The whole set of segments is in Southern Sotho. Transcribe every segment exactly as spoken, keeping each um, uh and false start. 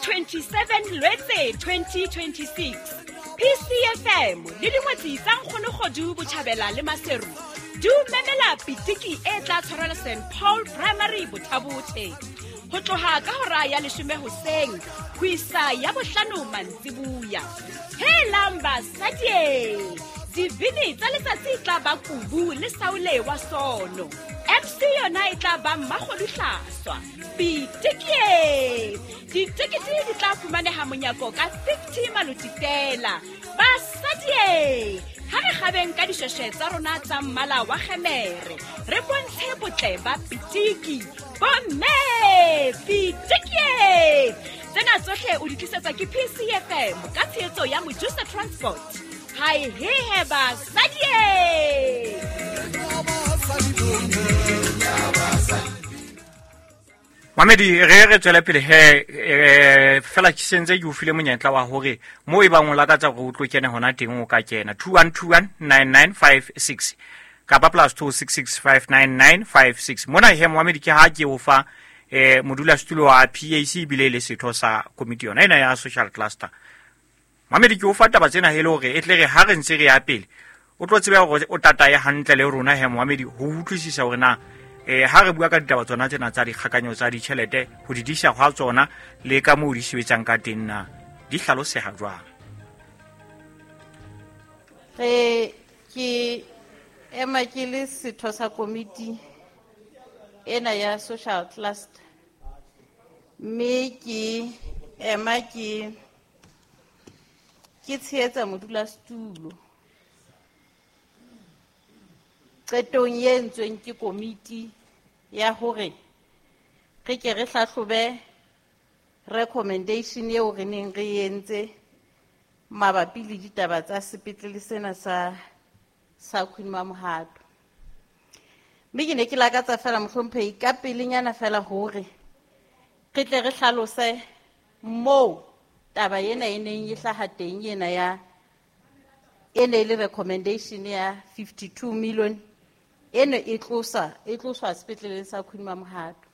twenty-seven Lwetse twenty twenty-six, P C F M le dingwetsi tsa Nkgono Kgodu Botjhabela le Maseru di o memela pitiki e tla tshwarelwa Saint Paul Primary Bothabothe ho tloha ka hora ya leshome hoseng ho isa ya bohlano mantsibuya. Helang basadi, dibini tsa letsatsi e tla ba Kubu le Saule wa Sono. M C yona e tla ba Mmakgodu Hlaswa. Pitiki! Ditekete di tla fumaneha monyako ka fifty maloti fela. Basadi, ha re kgabeng ka dishweshwe tsa rona tsa mmala wa kgemere, re bontshe botle ba pitiki. Bomme, pitiki! Tsena tsohle o di tlisetswa ke P C F M ka tshehetso ya Mojusa Transport. Hai he he basadi! Mamedi re re tswele pele he fela ke sentse ke o file monyetla wa hore mo e bang o lakatsa hore o tlo kene hona teng o ka kena two one two one nine nine five six kapa plus two six six five nine nine five six. Mona he Mohamedi ke ha ke o fa eh modulasetulo wa P A C ebile le setho sa komiti yona ena ya social cluster. Mamedi ke o fa taba tsena hele hore e tle re ha re ntse re ya pele o tlo tsebe hore o tataye hantle le rona he Mohamedi ho utlwisisa hore na eh ha re bua ka ditaba tsona tsena tsa dikgakanyo tsa ditjhelete ho di disha hwa tsona le ka moo di sebetsang ka teng na di hlaloseha jwang. Re ke ema ke le setho sa komiti ena ya social cluster mme ke ema ke ke tshehetsa modulasetulo qetong e entsweng ke komiti ya hore re ke re hlahlobe recommendation eo re neng re entse mabapi le ditaba tsa sepetlele sena sa sa Queen Mamohato. Mme ke ne ke lakatsa fela mohlomphehi ka pelenyana fela hore re tle re hlalose moo taba ena e neng e hlaha teng ena ya e ne e le recommendation ya fifty-two million eno e tlosa e tloswa sepetleleng sa Queen Mamohato.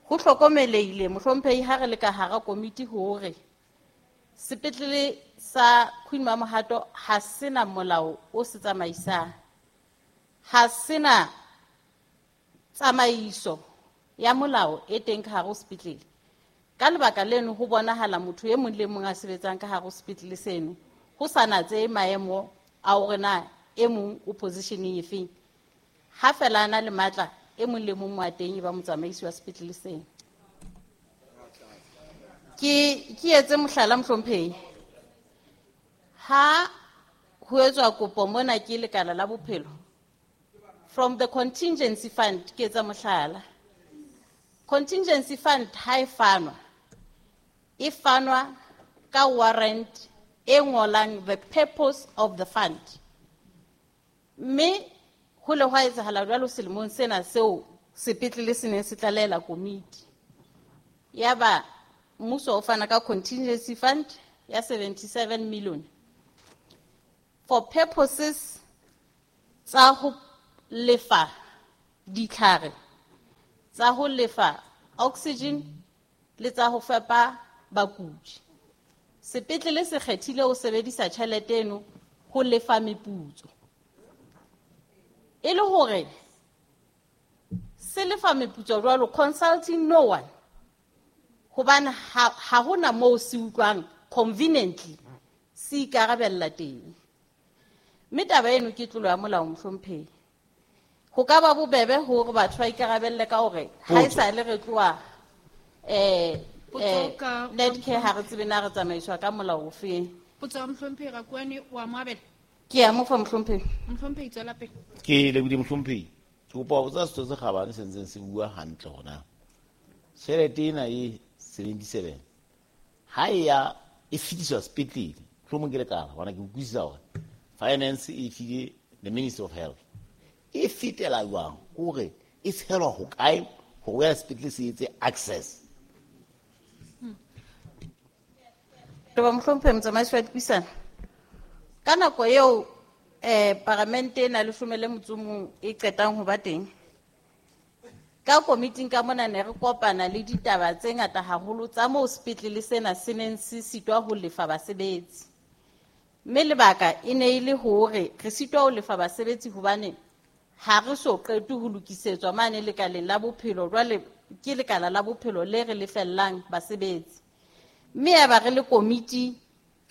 Ho hlokomelehile mohlomphehi ha re le ka hara komiti hore sepetlele sa Queen Mamohato ha sena molao o se tsamaisang, ha sena tsamaiso ya molao e teng ka hare ho sepetlele. Ka lebaka leno ho bonahala motho e mong le mong a sebetsang ka hare ho sepetlele seno ho sa natse maemo a hore na e mong o positioneng efeng, ha fela a na le matla e mong le mong wa teng e ba motsamaisi wa sepetlele seno. Ke ke etse mohlala mohlomphehi, ha ho etswa kopo mona ke lekala la bophelo from the contingency fund, ke etsa mohlala, contingency fund ha e fanwa e fanwa ka warrant e ngolang the purpose of the fund, mme ho le hwa etsahala jwalo selemong sena seo sepetlele se neng se tlalela komiti yaba mmuso o fana ka contingency fund ya seventy-seven million for purposes tsa ho lefa ditlhare, tsa ho lefa oxygen le tsa ho fepa bakudi. Sepetlele se kgethile ho sebedisa tjhelete eno ho lefa meputso, e le hore se lefa meputso jwalo consulting no one, hobane ha ha hona moo se utlwang conveniently se ikarabella teng. Mme taba eno ke tlolo ya molao mohlomphehi. Ho ka ba bobebe hore batho ba ikarabelle ka hore ha e sa le re tloha eh eh Netcare ha re tsebe na re tsamaiswa ka molao ofeng. Potso ya mohlomphehi Rakuane wa moabela. Ke a mo fa mohlomphehi. Mohlomphehi tswela pele. Ke lebohile mohlomphehi. Ke kopa ho botsa setho se kgabane se ntseng se bua hantle hona. Tjhelete ena e seventy-seven ha e ya e fetiswa sepetlele, mohlomong ke lekala hobane ke utlwisisa hore finance e file the Ministry of Health. E fetela jwang hore e tshelwa hokae hore ya sepetlele se etse access? Ba mohlomphehi motsamaisi wa dipuisano, ka nako eo eh paramente ena leshome le motso o mong e qetang ho ba teng, Ka komiting ka mona ne re kopana le ditaba tse ngata haholo tsa moo sepetlele sena se neng se sitwa ho lefa basebetsi. Mme lebaka e ne e le hore re sitwa ho lefa basebetsi hobane ha re so qete ho lokisetswa mane lekaleng la bophelo, jwale ke lekala la bophelo le re lefellang basebetsi. Mme ya ba re le komiti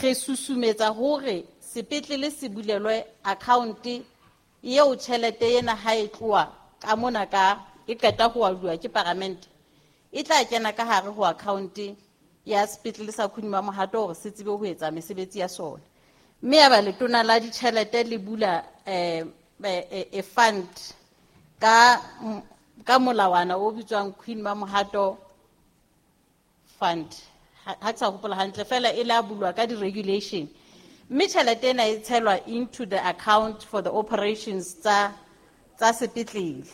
re susumetsa hore sepetlele se bulelwe account eo tjhelete ena ha e tloha ka mona ka e qeta ho aduwa ke paramente e tla kena ka hare ho account ya sepetlele sa Queen Mamohato hore se tsebe ho etsa mesebetsi ya sona. Mme ya ba letona la ditjhelete le bula eh e fund ka ka molawana o bitswang Queen Mamohato Fund. Ha ke sa hopola hantle fela e la bulwa ka di-regulation. Mme tjhelete ena e tshelwa into the account for the operations tsa tsa sepetlele.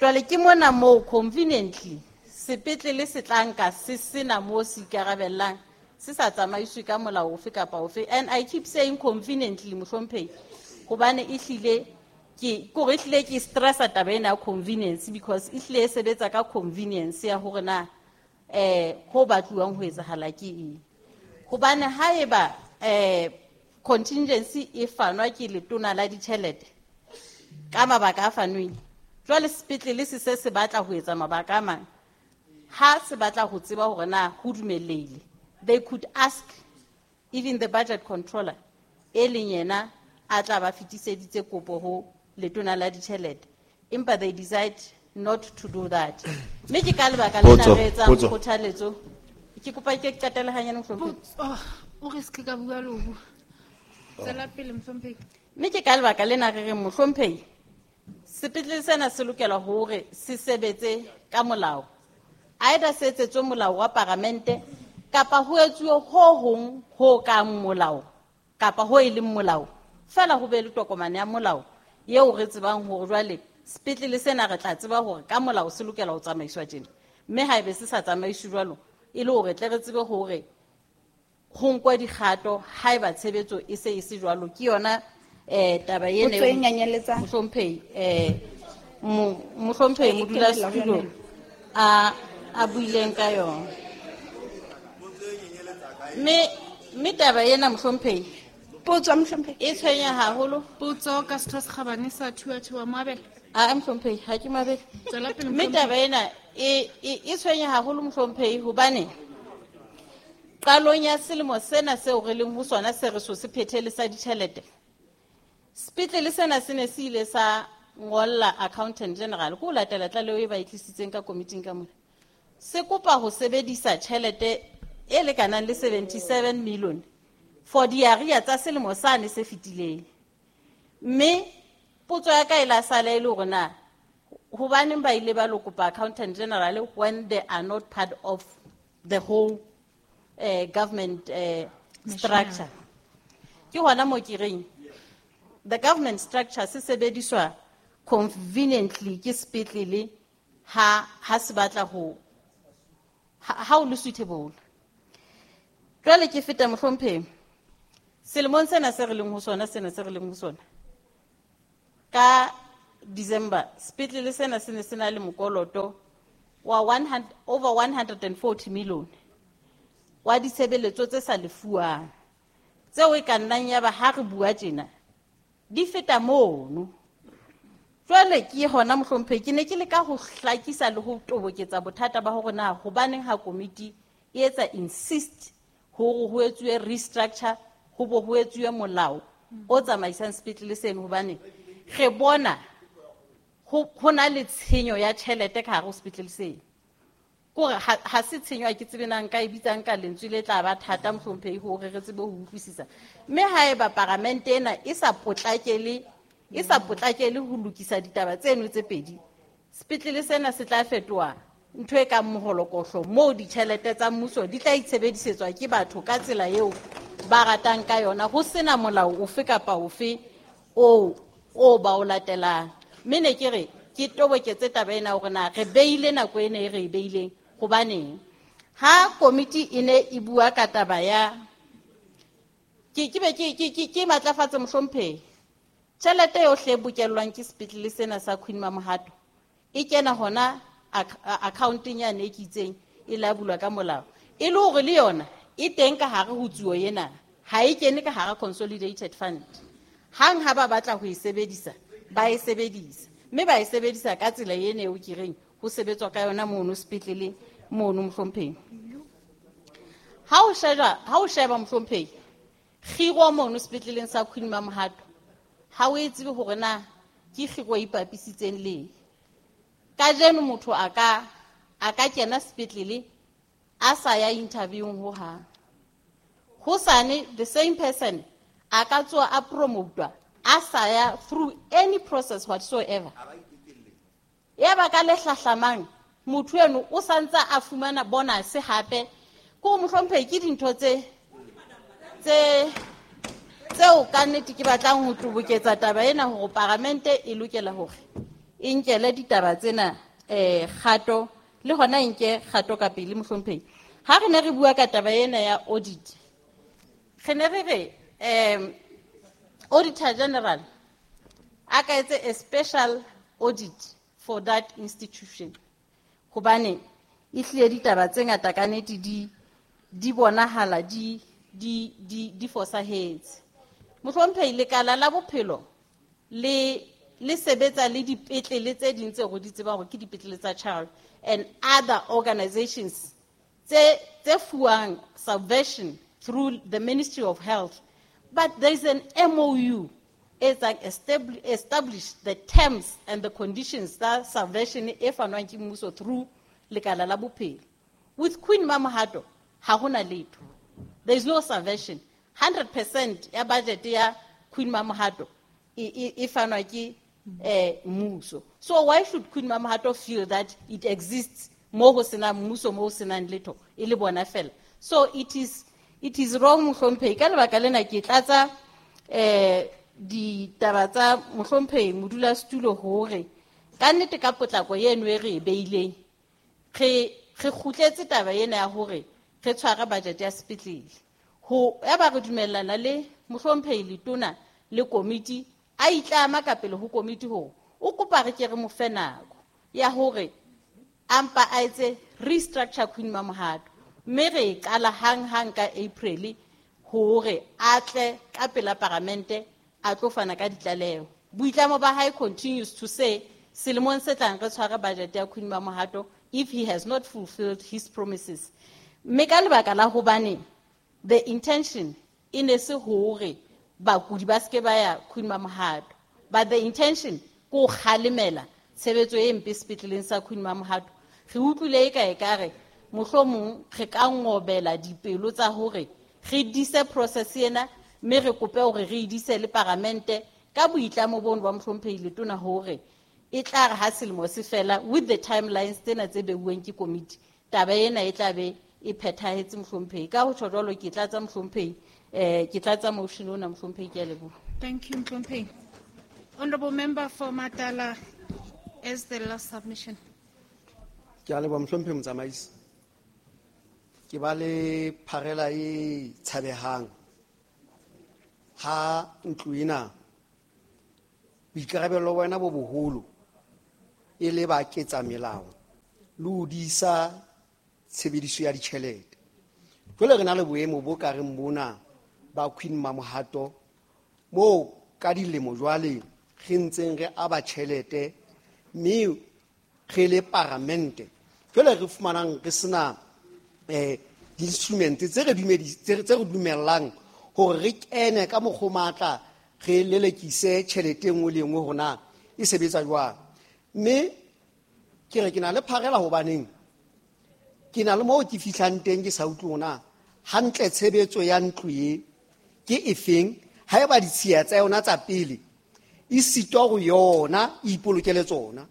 Jwale ke mona moo conveniently sepetlele se tla nka se sena moo se ikarabellang, se sa tsamaiswe ka molao ofe kapa ofe. And I keep saying conveniently mohlomphehi hobane ehlile ke kore ehlile ke stressa taba ena ya convenience because ehlile e sebetsa ka convenience ya hore na eh ho batluwang ho etsahala ke eng. Hobane haeba eh contingency e fanwa ke letona la ditjhelete ka mabaka a fanweng, jwale sepetlele se se se batla ho etsa mabaka a mang, ha se batla ho tseba hore na ho dumellehile, they could ask even the budget controller e leng yena a tla ba fetiseditse kopo ho letona la ditjhelete, empa they decide not to do that. Mme ke ka lebaka lena re etsang kgothaletso. Ke kopa ke qetele hanyane mohlomphehi. O re se ka bua le ho bua. Tswela pele mohlomphehi. Mme ke ka lebaka lena re reng mohlomphehi sepetlele sena se lokela hore se sebetse ka molao. Either se etsetswe molao wa paramente kapa ho etsuwe ho hong ho kang molao kapa ho e leng molao. Fela ho be le tokomane ya molao eo re tsebang hore jwale sepetlele sena re tla tseba hore ka molao se lokela ho tsamaiswa tjena. Mme haebe se sa tsamaiswe jwalo e le hore tle re tsebe hore ho nkwa dikgato haeba tshebetso e se e se jwalo. Ke yona eh taba ena e nyanyeletsang mohlomphehi eh mohlomphehi modulasetulo a a buileng ka yona. Mme mme taba ena mohlomphehi potso mohlomphehi e tshwenya haholo. Potso ka setho se kgabane sa Thuathuwa Moabela. A mohlomphehi ha ke mabele. Tswela pele. Mme taba ena e e tshwenya haholo mohlomphehi hobane qalong ya selemo sena seo re leng ho sona se re so se phethele sa ditjhelete, sepetlele sena se ne se ile sa ngolla accountant general ko latela tlaleho e ba e tlisitseng ka komiting ka mona. Se kopa ho sebedisa tjhelete e lekanang le seventy-seven million for diarrhea tsa selemo sane se fetileng. Mme potso ya ka e la sala e le hore na hobaneng ba ile ba lo kopa accountant general when they are not part of the whole uh, government uh, structure. Ke hona mo ke reng the government structure se sebediswa conveniently ke sepetlele ha ha se batla ho ha o le suitable. Jwale ke feta mohlomphehi selemong sena se re leng ho sona sena se re leng ho sona ka December sepetlele sena se ne se na le mokoloto wa one hundred over one hundred forty million wa ditshebeletso tse sa lefuwang tseo e ka nnang ya ba ha re bua tjena di feta mono. Jwale ke hona mohlomphehi ke ne ke leka ho hlakisa le ho toboketsa bothata ba hore na hobaneng ha komiti e etsa insist hore ho etsuwe restructure, ho bo ho etsuwe molao o tsamaisang sepetlele seno hobane re bona ho na le tshenyo ya tjhelete ka hare ho sepetlele seno. Kore ha se tshenyo ha ke tsebe na nka e bitsang ka lentswe le tla ba thata mohlomphehi hore re tsebe ho utlwisisa. Mme haeba paramente ena e sa potlakele e sa potlakele ho lokisa ditaba tseno tse pedi, sepetlele sena se tla fetoha ntho e kang moholokohlo moo ditjhelete tsa mmuso di tla itshebedisetswa ke batho ka tsela eo ba ratang ka yona ho sena molao ofe kapa ofe o o ba o latelang. Mme ne ke re ke toboketse taba ena hore na re beile nako ena e re e beileng hobaneng ha komiti e ne e bua ka taba ya ke ke be ke ke ke matlafatse mohlomphehi tjhelete yohle e bokellwang ke sepetlele sena sa Queen Mamohato E kena hona accounting yane e ke itseng e la bulwa ka molao. E le hore le yona e teng ka hare ho tsuo ena, ha e kene ka hara consolidated fund. Hang ha ba batla ho e sebedisa, ba e sebedisa. Mme ba e sebedisa ka tsela ena eo ke reng ho sebetswa ka yona mono sepetlele mono mohlomphehi. Ha o sheba, ha o sheba mohlomphehi, kgiro mono sepetleleng sa Queen Mamohato, ha o e tsebe hore na ke kgiro e ipapisitseng le. Kajeno motho a ka, a ka kena sepetlele a sa ya interviewing ho hang. Hosane the same person a ka tswa a promotwa a sa ya through any process whatsoever. Ya ba ka le hlahlamang motho eno o santsa a fumana bonus hape. Ko mohlomphehi ke dintho tse tse tseo ka nnete ke batlang ho toboketsa taba ena hore paramente e lokela hore e nkele ditaba tsena eh kgato le hona e nke kgato ka pele mohlomphehi. Ha re ne re bua ka taba ena ya audit, re ne re re um Auditor General a ka etse a special audit for that institution, hobane e hlile ditaba tse ngata ka nnete di di bonahala di di di di fosahetse. Mohlomphehi, lekala la bophelo le le sebetsa le dipetlele tse ding tse re di tsebang hore ke dipetlele tsa child and other organizations tse tse fuwang subvention through the Ministry of Health. But there is an M O U e tsang establish the terms and the conditions that subvention e fanwang ke mmuso through lekala la bophelo. With Queen Mamohato, ha hona letho. There is no subvention. hundred percent ya budget ya Queen Mamohato e, e, e fanwa ke eh, mmuso. So why should Queen Mamohato feel that it exists mo ho sena mmuso, mo ho senang letho, e le bona fela? So it is, it is wrong mohlomphehi. Ka lebaka lena ke tlatsa eh ditaba tsa mohlomphehi modulasetulo hore ka nnete ka potlako eno e re e beileng, re re kgutletse taba ena ya hore re tshware budget ya sepetlele. Ho ya ba re dumellana le mohlomphehi letona le komiti, a itlama ka pele ho komiti hore o kopa re ke re mo fe nako ya hore a mpa a etse restructure Queen Mamohato, mme re e qala hang-hang ka April hore a tle ka pela paramente a tlo fana ka ditlaleho. Boitlamo ba hae continues to say selemong se tlang re tshware budget ya Queen Mamohato if he has not fulfilled his promises. Mme ka lebaka la hobane the intention e ne se hore bakudi ba seke ba ya Queen Mamohato, but the intention ke ho kgalemela tshebetso e mpe sepetleleng sa Queen Mamohato. Re utlwile e ka ekare mohlomong re ka ngobela dipelo tsa hore re dise process ena, mme re kope hore re e dise le paramente ka boitlamo bono ba mohlomphehi letona hore e tla re ha selemo se fela with the timelines tsena tse beuweng ke komiti, taba ena e tla be e phethahetse mohlomphehi. Ka ho tjho jwalo ke tlatsa mohlomphehi, eh ke tlatsa motion ona mohlomphehi, ke a leboha. Thank you mohlomphehi. Honorable member for Matala as the last submission. Ke a leboha mohlomphehi motsamaisi. Ke ba le pharela e tshabehang ha ntlo ena boikarabelo ba wena bo boholo e le ba ketsa melao le ho disa tshebediso ya ditjhelete. Jwale re na le boemo bo ka reng bona ba Queen Mamohato moo ka dilemo jwale re ntseng re aba tjhelete mme re le paramente. Jwale re fumanang re sena eh di-instrument tse re dumedi tse re dumellang hore re kene ka mokgwa matla re lelekise tjhelete e nngwe le e nngwe hore na e sebetsa jwang. Mme ke re ke na le pharela hobaneng ke na le moo ke fihlang teng ke sa utlwe hore na hantle tshebetso ya ntlo e ke efeng, haeba ditshiya tsa yona tsa pele e sitwa ho yona e ipolokele tsona.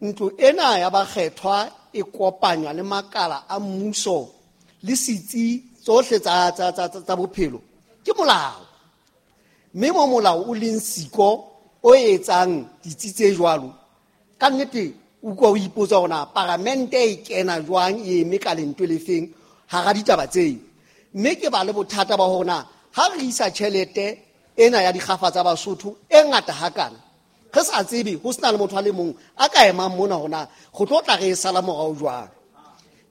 Ntlo ena ya bakgethwa e kopanywa le makala a mmuso le setsi tsohle tsa tsa tsa tsa bophelo ke molao. Mme mo molao o leng siko o etsang ditsi tse jwalo, ka nnete o utlwa o ipotsa hore na paramente e kena jwang e eme ka lentwe le feng hara ditaba tseo. Mme ke ba le bothata ba hore na ha re isa tjhelete ena ya dikgafa tsa Basotho e ngata hakana, Re sa tsebe ho sena le motho a le mong a ka emang mona hona go tlo tla re e sala morao jwang.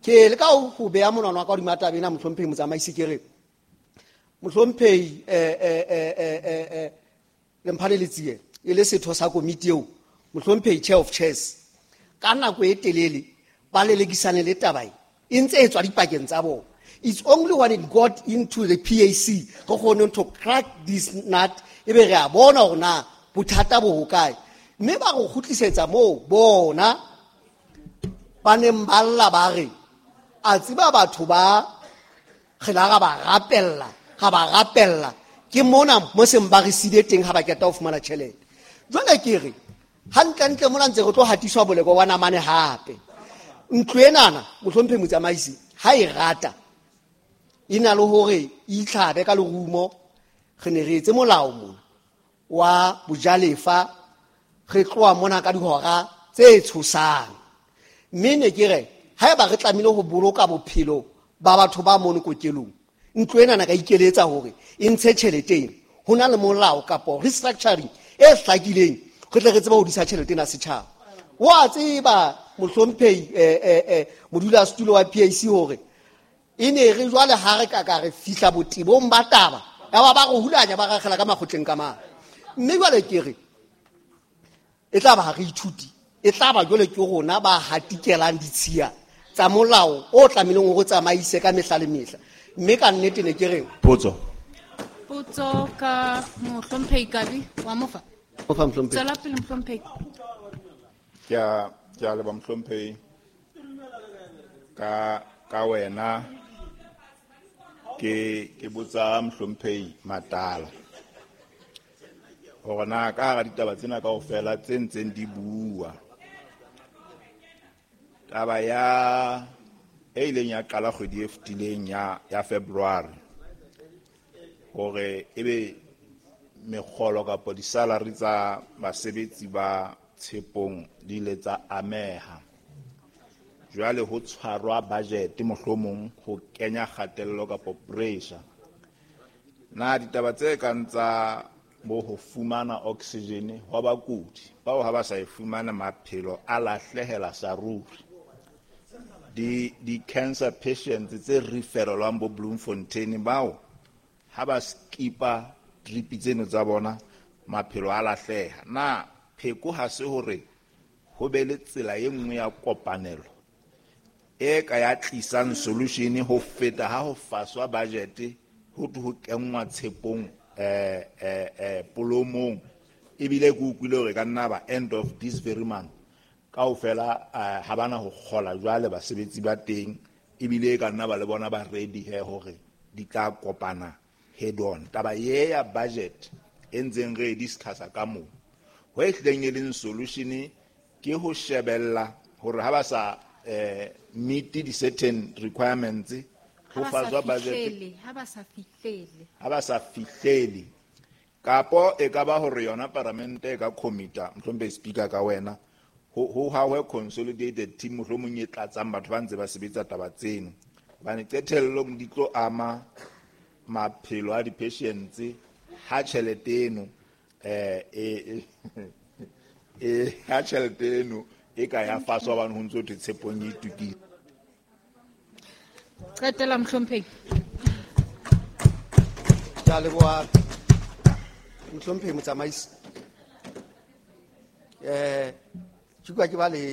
Ke le ka ho beha monwana wa ka hodima taba ena mohlomphehi motsamaisi ke re mohlomphehi eh eh eh eh eh Lemphane Letsie e le setho sa komiti eo mohlomphehi chair of chairs ka nako e telele ba lelekisane le taba e e ntse e tswa dipakeng tsa bona. It's only when it got into the P A C re kgone to crack this nut e be re a bona hore na bothata bo hokae, mme ba go kgutlisetsa moo bona ba neng ba lla ba re a tseba batho ba re la ga ba rapella ga ba rapella ke mona mo seng ba re sile teng ha ba keta ho fumana tjhelete. Jwale ke re hantlentle mona ntse re tlo hatiswa boleko wa namane hape. Ntlo enana mohlomphehi motsamaisi ha e rata e na le hore e itlhabe ka lerumo. Re ne re etse molao mona wa bojalefa re tloha mona ka dihora tse tshosang, mme ne ke re haeba re tlamehile ho boloka bophelo ba batho ba mono kokelong ntlo ena ka ikeletsa hore e ntshe tjhelete ena. Ho na le molao kapo restructuring e hlakileng re tle re tsebe ho disa tjhelete ena setjhaba. Wa tseba mohlomphehi eh eh eh modulasetulo wa P A C hore e ne re jwale ha re ka ka re fihla botebong ba taba ya ba ba re hulanya ba rakgela ka makgotleng ka mane. Mme jwale ke re e tla ba ha re ithuti e tla ba jwale ke rona ba hatikelang ditshiya tsa molao o tlamehileng hore o tsamaise ka mehla le mehla. Mme ka nnete ne ke re potso potso ka mohlomphehi Kabi wa mofa mofa mohlomphehi tswela pele mohlomphehi. Ke a ke a leboha mohlomphehi ka ka wena ke ke botsa mohlomphehi Matala hore na ka hara ditaba tsena kaofela tse ntseng di bua taba ya e ileng ya qala kgwedi e fetileng ya ya February hore ebe mekgolo kapa di-salary tsa basebetsi ba Tshepong di ile tsa ameha. Jwale ho tshwarwa budget mohlomong ho kenya kgatello kapa pressure. Na ditaba tse kang tsa bo ho fumana oxygen hwa bakudi bao ha ba sa e fumana maphelo a lahlehela sa ruri. Di di cancer patients tse referelwang bo Bloemfontein bao ha ba skipa drip tseno tsa bona maphelo a lahleha. Na pheko ha se hore ho be le tsela e nngwe ya kopanelo e ka ya tlisang solution ho feta ha ho faswa budget ho ho kenngwa Tshepong eh eh eh polomong ebile ke utlwile hore ka nna ba end of this very month kaofela ha bana ho kgola jwale basebetsi ba teng ebile ka nna ba le bona ba ready he hore di tla kopana head on. Taba ye ya budget e ntseng re discussa ka moo ho e hlileng e leng solution ke ho shebella hore ha ba sa eh meet di certain requirements ho faswa budget ha ba sa fihlele ha ba sa fihlele kapo e ka ba hore yona paramente e ka commita mohlompe speaker ka wena ho ho hawe consolidated team mohlomong e tlatsang batho ba ntse ba sebetsa taba tseno hobane qetellong di tlo ama maphelo a di-patients ha tjhelete eno eh e e ha tjhelete eno e ka ya faswa hobane ho ntso thwe Tshepong e itukile. Qetela mohlomphehi. Ke a leboha mohlomphehi motsamaisi. Eh ke utlwa ke ba le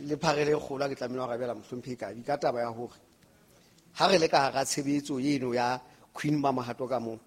le pharele e kgolo ha ke tlamehile ho arabela mohlomphehi Kabi ka taba ya hore ha re le ka hara tshebetso eno ya Queen Mamohato ka moo